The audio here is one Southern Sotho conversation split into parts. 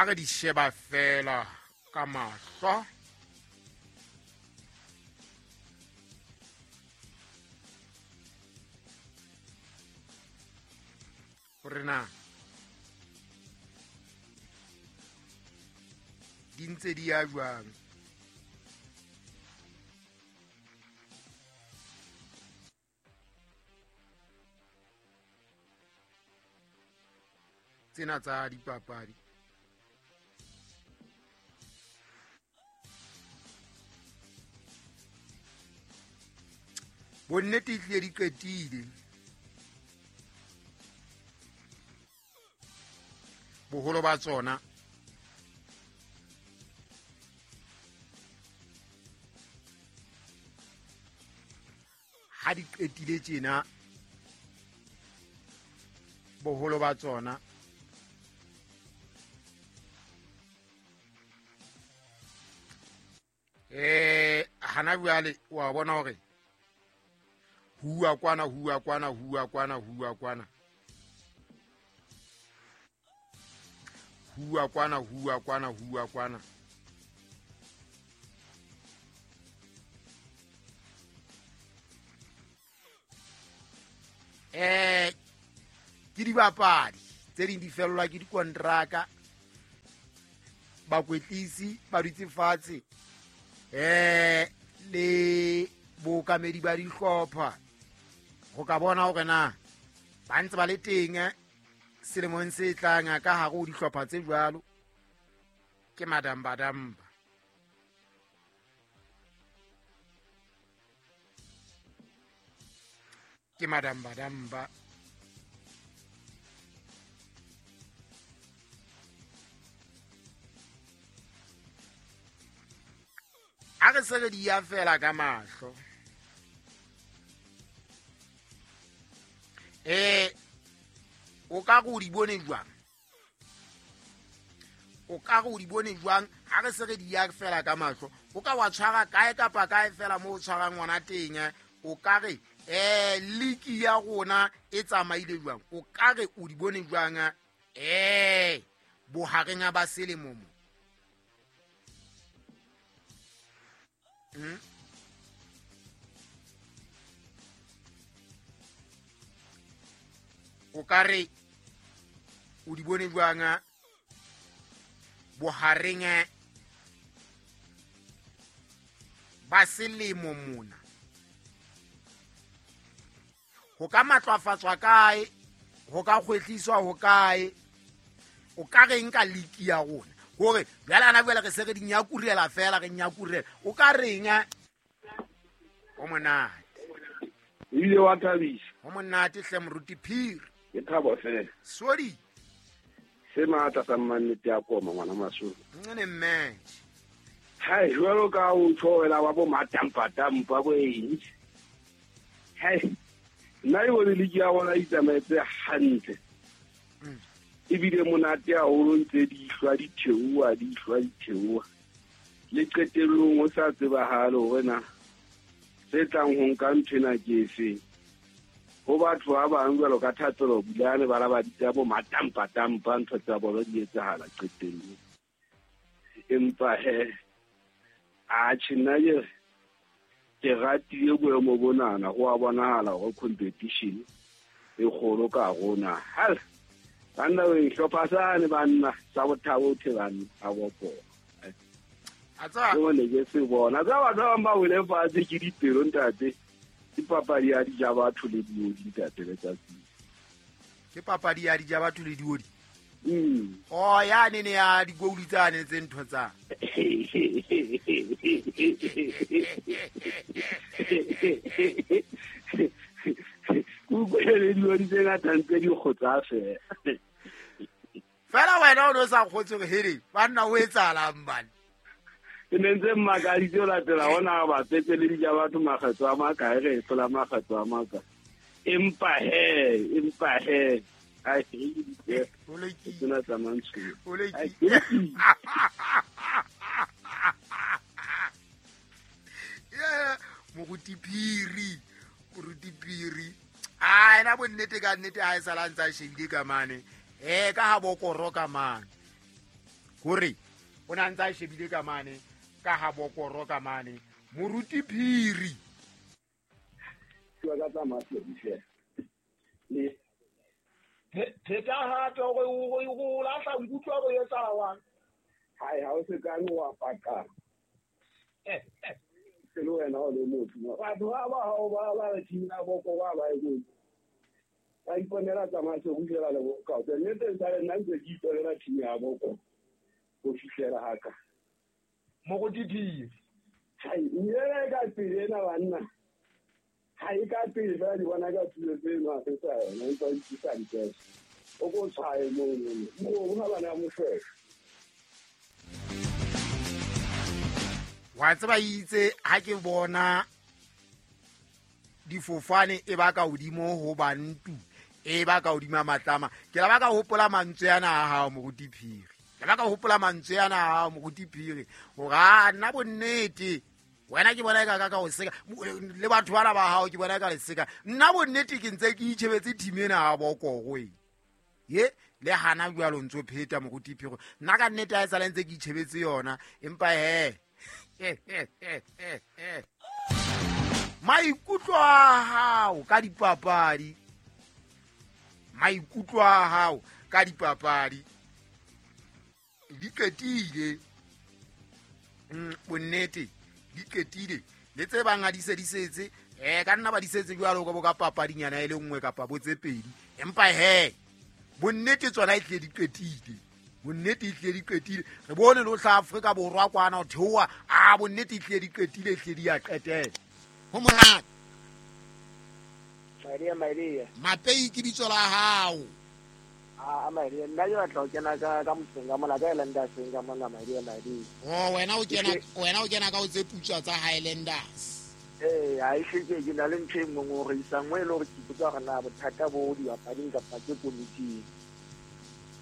Ha re di sheba fela ka mahlo hore na di ntse di ya jwang. Tsena tsa dipapadi bonnete ehlile di qetile boholo ba tsona. Ha di qetile tjena boholo ba tsona hana jwale wa bona hore huwa kwana huwa kwana huwa kwana huwa kwana huwa kwana huwa kwana huwa kwana ke dibapadi tse ding di fellwa ke dikontraka, bakwetlisi ba dutse fatshe le bookamedi ba dihlopha go ka bona hore na ba ntse ba le teng selemong se tlang ka hare ho dihlopha tse jwalo. Ke madambadamba. Ke madambadamba. Ha re se re di ya fela ka mahlo. O ka re o di bone jwang? O ka re o di bone jwang? Ha re se re di ya fela ka mahlo, o ka wa tshwara kae kapa kae fela mo o tshwarang ngwana teng, o ka re liki ya rona e tsamaile jwang? O ka re o di bone jwang? Bohareng ba selemo mo. O ka re o di bone jwang bohareng ba selemo mona? Ho ka matlafatswa kae? Ho ka kgwetliswa ho kae? O ka reng ka liki ya rona? Hore jwale ana jwale re se re di nyakurela fela, re nyakurela. O ka reng? O monate. Ile wa thabisa. O monate hle moruti Phiri. Ke thabo fela. Sorry. Se matla sa mmannete ya koma ngwana Masolo. Nne mme. Hai jwalo ka o tshwela wa bo matampa bo eng. Hai. Nna e bone liki ya rona e tsamaetse hantle. Ebile monate haholo ntse di hlwa di theoha, di hlwa di theoha. Le qetellong o sa tsebahale hore na se tlang ho nka nthwena ke efe. Ho batho ba bang jwalo ka Thapelo Bulane ba la ba ditsa bo matampa-tampa ntho tsa bona di etsahala qetellong. Empa he atjhe nna ke ratile boemo bonana, ho a bonahala hore competition e kgolo ka rona. Hal banna we hlopha sane banna sa bothabo the banna a bopo. Atsa bone ke se bona tsa batho ba bang ba wele fatshe ke dipelo ntate. Ke papadi ya dija batho le diodi ntate letsatsi. Ke papadi ya dija batho le diodi. Oh ya ne ne ya digouli tsane tse ntho tsa. Kukwele diodi tse ngata ntse di kgotsa fela. Fela wena o no sa kgotse hore here banna o etsahalang bana. Ke ne ntse mmakaditse ho latela hona ba petse le dija batho makgetho a makae re hlola makgetho a makae. Empa he ai tsena tsa mantsho. Yeah, moruti Phiri. Ah, ena bonnete ka nnete ha e sala ntsa shebile ka mane. Ka ha bokoro ka mane. Kore o na ntse a shebile ka mane ka ha bokoro ka mane Moruti Phiri. Ke ka tsa maseru le pheta hape hore o lahla nkutlwa go etsahala wang. Hai ha o se ka wa paka. Se le wena o le motho. Batho ba ba hao ba ba re team ya boko ba ba e go. Ba iponela tsa maseru fela le boka. Nnete sa le nna ntse ke iponela team ya boko. Go fihlela haka. Moruti Phiri. Hai nyele ka pele ena banna. Ha e ka pele fela di bona ka tulo tse no a fetsa yona empa di sa diketso. O ko tshwae mono. Mo ha bana moshweshwe. Wa tseba itse ha ke bona difofane e ba ka hodimo ho bantu e ba ka hodima matlama ke la ba ka hopola mantswe ana a hao Moruti Phiri. Ke la ka hopola mantswe ana a hao Moruti Phiri hore a nna bonnete wena ke bona ka ka o seka le batho bana ba hao ke bona ka le seka nna bonnete ke ntse ke itjhebetse team ena ha bokoro e ye le hana jwalo ntso pheta Moruti Phiri nna ka nnete ha e sala ntse ke itjhebetse yona empa he maikutlo a hao ka dipapadi maikutlo a hao ka dipapadi di qetile bonnete di qetile le tse bang ha di se di setse ka nna ba di setse jwalo ka bo ka papadinyana e le nngwe kapa bo tse pedi empa he bonnete tsona e tle di qetile bonnete e tle di qetile re bone le hla Afrika Borwa kwana ho theoha a bonnete e tle di qetile e tle di ya qetela ho monate. Maria Maria Mapei ke bitso la hao. A Maria nna ke batla ho kena ka motseng ka mona ka Highlanders ka mona Maria Maria. Oh wena o kena ka o tse putswa tsa Highlanders. Ha e hleke ke na le ntho e nngwe hore isang e le hore ke ipotsa hore na bothata bo dibapading kapa ke komiting.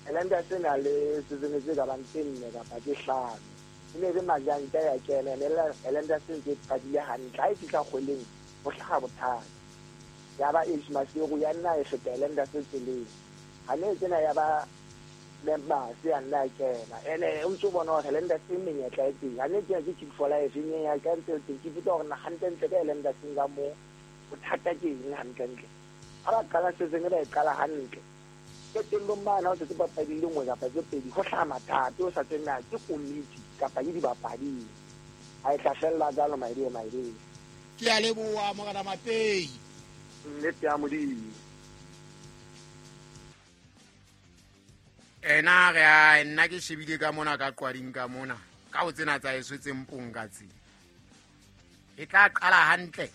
Highlanders e na le season tse ka bang tse nne kapa tse hlano. E ne re majanta ya kena ene Highlanders e ntse e qadile hantle ha e fihla kgweleng ho hlaha bothata. Ya ba Ace Maseru ya nna e feta Highlanders tseleng. Ha ne tsena ya ba members ya nna kena ene o ntso bona hore Highlanders e menyetla e teng. Ha ne tsena ke Chief for Life e ya ka ntse teng ke botsa hore na hantle ka Highlanders ka mo bothata ke eng hantle. Ha ba qala season ba e qala hantle. Qetellong bana o setse papadi le nngwe kapa tse pedi ho hlaha mathata o sa tsena ke komiti kapa ke dibapadi. Ha e tla fella jwalo Maria Maria. Ke a leboha Morena Mapei. Nnete ya Modimo. Ena re a nna ke shebile ka mona ka qwading ka mona ka ho tsena tsa eso tse mpong ka tse e tla qala hantle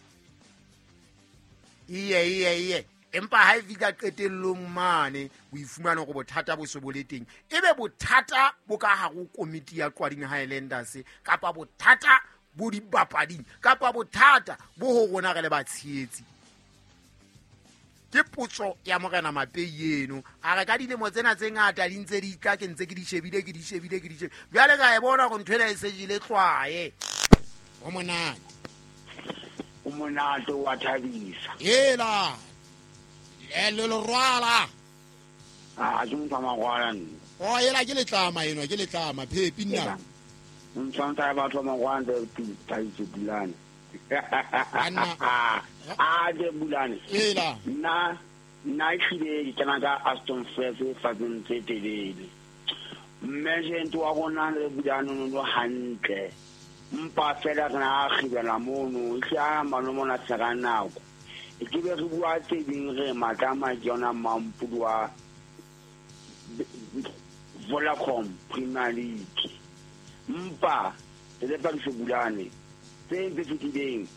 iye empa ha e fihla qetellong mane o ifumana hore bothata bo se bo le teng ebe bothata bo ka hare ho komiti ya Qwading Highlanders kapa bothata bo dibapading kapa bothata bo ho rona re le batshehetsi. Ke potso ya Morena Mapei eno a re ka dilemo tsena tse ngata di ntse di tla ke ntse ke di shebile jwale ka e bona hore ntho ena e se jele tlwae. Ho monate o monate wa thabisa hela le lerwala a ke motho wa mangwala nna. O ela ke letlama eno ke letlama phepi nna ntshwantsa batho ba mangwala thabiso Bulane. A de Bulane ela nna ehlile ke kena ka Aston Fest fatseng tse telele. Management wa rona le Bulane no hantle mpa fela re na kgibela mono e a malomona tsaka nako e ke be re bua tse ding re matlama ke yona Mampudi wa Vodacom Premier League mpa le Pakiso Bulane tse ntse fetileng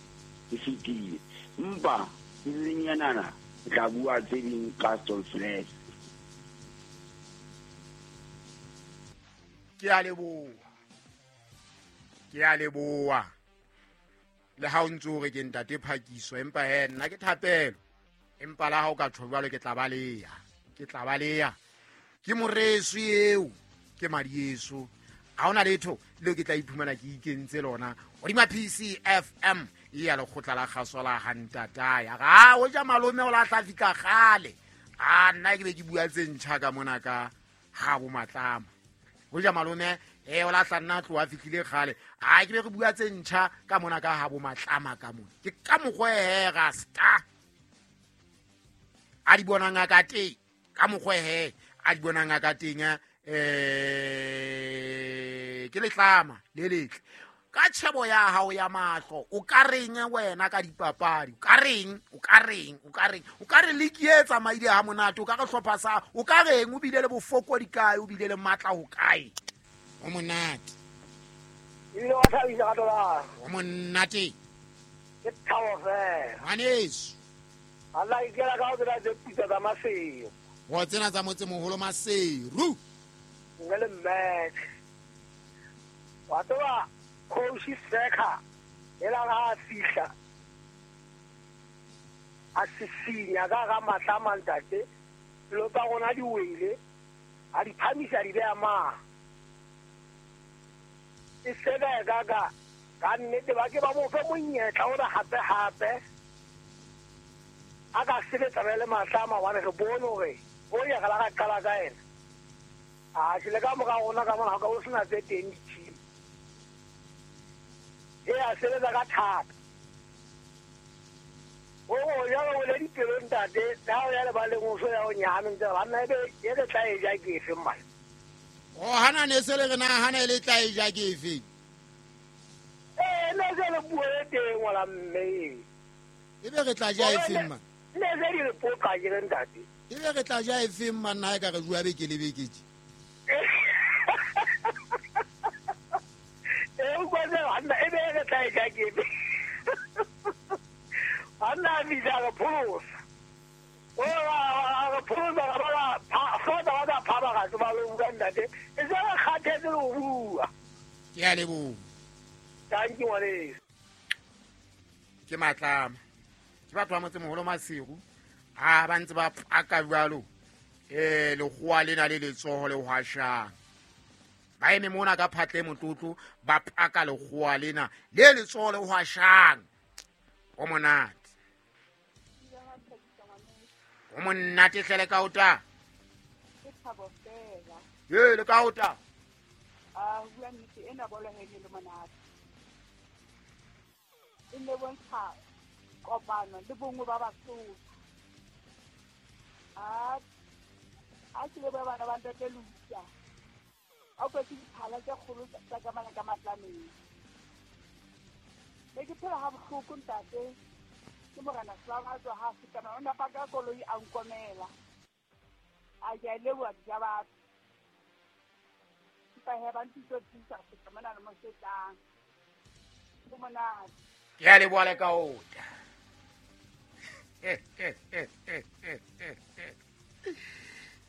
di fetile mpa lenyanana tla bua tse ding ka Aston Fest. Ke a leboha le ha o ntso hore ke ntate Phakiso empa he nna ke thapelo empa la ha o ka tjho jwalo ke tla baleha ke moreso eo ke madi eso ha hona letho leo ke tla iphumana ke ikentse lona hodima PCFM e ya lekgotla la kgaso la hantataya ga o ja malome o la tla fihla kgale a nna ke be ke bua tse ntjha ka mona ka ha bo matlama. Ho ja malome o lahla nna tloha fihlile kgale. A ke be re bua tse ntjha ka mona ka ha bo matlama ka mona. Ke ka mokgwa he rasta. A di bonang ka teng, ka mokgwa he a di bonang ka teng ke letlama le letle. Ka tshebo ya hao ya mahlo o ka reng wena ka dipapadi? O ka reng? O ka reng? O ka reng? O ka re league e tsamaile ha monate, o ka re hlopha sa, o ka reng o bile le bofokodi kae, o bile le matla ho kae? O monate. Ebile wa thabisa ka tola. O monate. Ke thabo fela. Ngwaneso. Allah ikela ka o tsena tse putsa tsa Maseru. Wa tsena tsa motsemoholo Maseru. Nne le match. Wa tseba Coach Seka ela ga fihla a sisinya ka ga matlama ntate lo tsa rona di wele a di phamisa di beya ma e sebe ka ka ka nnete ba ke ba mo fe monyetla o hape hape a ka sebetsa le matlama wa re bone hore o ya ga la qala ka ena a tshile ka mora rona ka mona ka o sena tse teng di e a sebetsa ka thata. O ya o le dipelo ntate, ha o ya le baleng o so ya o nyahame ntse ba nna ebe e re tla e ja ke efe mmane. O hana ne se le re na hana le tla e ja ke efe? Ne se le bua e teng wala mme. Ebe re tla ja efe mma? Ne se di re poka ke re ntate. Ebe re tla ja efe mma nna e ka re bua beke le beke tje. Ke a leboha. Thank you ngwaneso. Ke matlama. Ke batho ba motsemoholo Maseru. Ha ba ntse ba paka jwalo. Lekgowa lena le letsoho le hwashang. Ba eme mona ka phatle motlotlo ba paka lekgowa lena le letsoho le hwashang. O monate. O monate hle le ka ota. Ke thabo fela. Ye le ka ota. A bua nnete ena bolo he le monate. E ne bontsha kopano le bongwe ba Basotho. A ke le ba bana ba ntate Lucia. A kwetse diphala tse kgolo tsa ka mana ka matlameng. Ne ke phela ha bohloko ntate. Ke morena Slava tswa ha feta o na paka koloi a nkomela. A ke a leboha ja batho. Empa he ba ntitso thusa feta mona le mo setang. Ke monate. Ke a leboha le ka ota.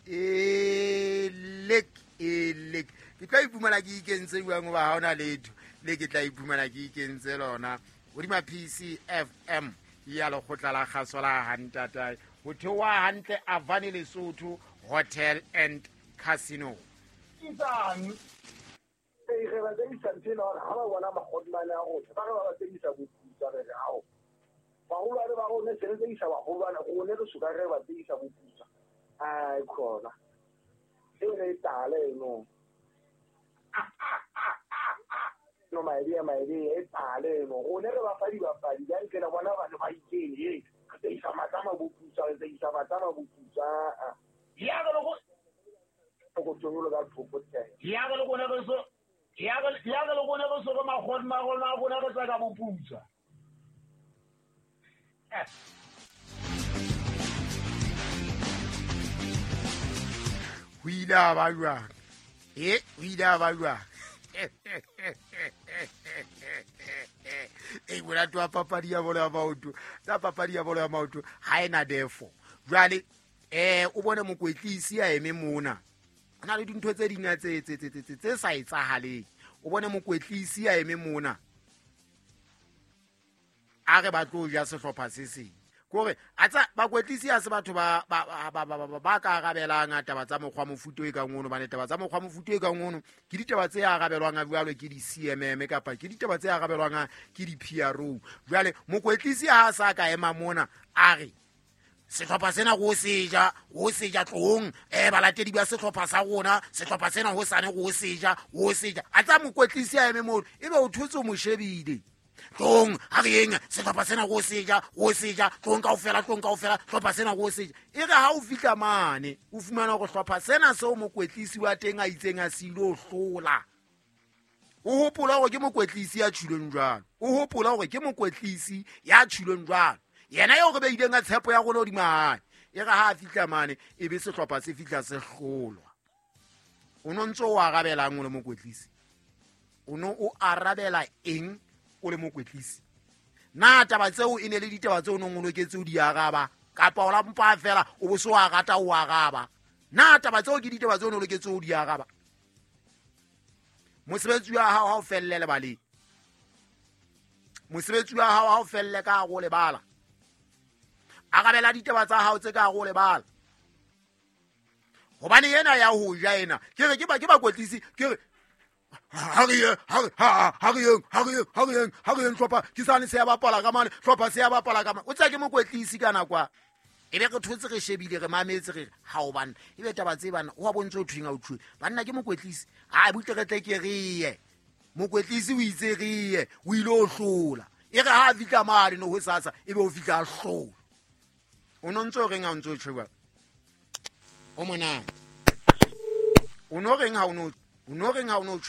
Elek. Ke tla iphumana ke ikentse jwang hoba ha hona letho le ke tla iphumana ke ikentse lona. Hodima PCFM ya lekgotla la kgaso la Hantatae. Ho theoha hantle Avani Lesotho Hotel and Casino. Isang e re ba tseisa ntsena hore ha ba bona makgotlane a rona ba re ba tseisa boputsa re re hao. Baholo ba rona se re tseisa baholo rona re suka re ba tseisa boputsa. Ai khona. E ne tale no. No maedi e tale no. Rona re ba fa dibapadi ba ntsena bona ba ne ba ikeng e. Re tseisa matlama boputsa, re tseisa matlama boputsa. Ya go go tsolo ka thoko tse. Ya go le gona re so ya go le gona re so go magona rona rona re tsaka boputsa. Ho ile a ba jwang? Ho ile a ba jwang? Monate wa papadi ya bolo ya maoto. Tsa papadi ya bolo ya maoto ha ena defo. Jwale o bone mokwetlisi a eme mona. Ho na le dintho tse ding tse sa etsahaleng. O bone mokwetlisi a eme mona. A re ba tlo ja sehlopha se seng. Kore atsa bakwetlisi a se batho ba ka arabelang taba tsa mokgwa mofuto e kang ono, bane taba tsa mokgwa mofuto e kang ono ke ditaba tse arabelwang a jwalo ke di CMM kapa ke ditaba tse arabelwang ke di PRO. Jwale mokwetlisi ha sa ka ema mona a re Sehlopha sena go seja, go seja tlong, balatedi ba sehlopha sa rona, sehlopha sena ho sane go seja, go seja. A tsa mokwetlisi a eme moo, ebe o thotse o mo shebile. Tlong, ha re eng, sehlopha sena go seja, tlong kaofela, hlopha sena go seja. E re ha o fihla mane, o fumana hore hlopha sena seo mokwetlisi wa teng a itseng a se ilo hlola. O hopola hore ke mokwetlisi ya tjhileng jwalo. O hopola hore ke mokwetlisi ya tjhileng jwalo. Yena eo re beileng ka tshepo ya rona hodima hae. E re ha a fihla mane, e be sehlopha se fihla se hlolwa. O no ntso o arabelang o le mokwetlisi? O no o arabela eng o le mokwetlisi? Na taba tseo e ne le ditaba tseo o nong o loketse o di araba, kapa o la mpa fela o bo se o a rata o araba? Na taba tseo ke ditaba tseo o ne o loketse o di araba? Mosebetsi wa hao ha o felle lebaleng. Mosebetsi wa hao ha o felle ka hare ho lebala. Arabela ditaba tsa hao tse ka hare ho lebala. Hobane ena ya ho ja ena, ke re ke ba ke bakwetlisi, ke re ha re ye, ha re, ha, ha re yeng, ha re yeng, ha re yeng, ha re yeng, hlopha ke sane se ya bapala ka mane, hlopha se ya bapala ka mane. O tsaya ke mokwetlisi ka nako a. E be re thotse re shebile, re mametse, re re, ha o banna. E be taba tse banna, o wa bontse o thweng ha o thweng. Banna ke mokwetlisi. Ha butle re tle ke re ye. Mokwetlisi o itse re ye, o ile o hlola. E re ha a fihla mane no ho sasa, e be o fihla a hlola. O no ntso reng ha o ntso tjho jwalo? O monate. O no reng ha o no, o no reng ha o no tjho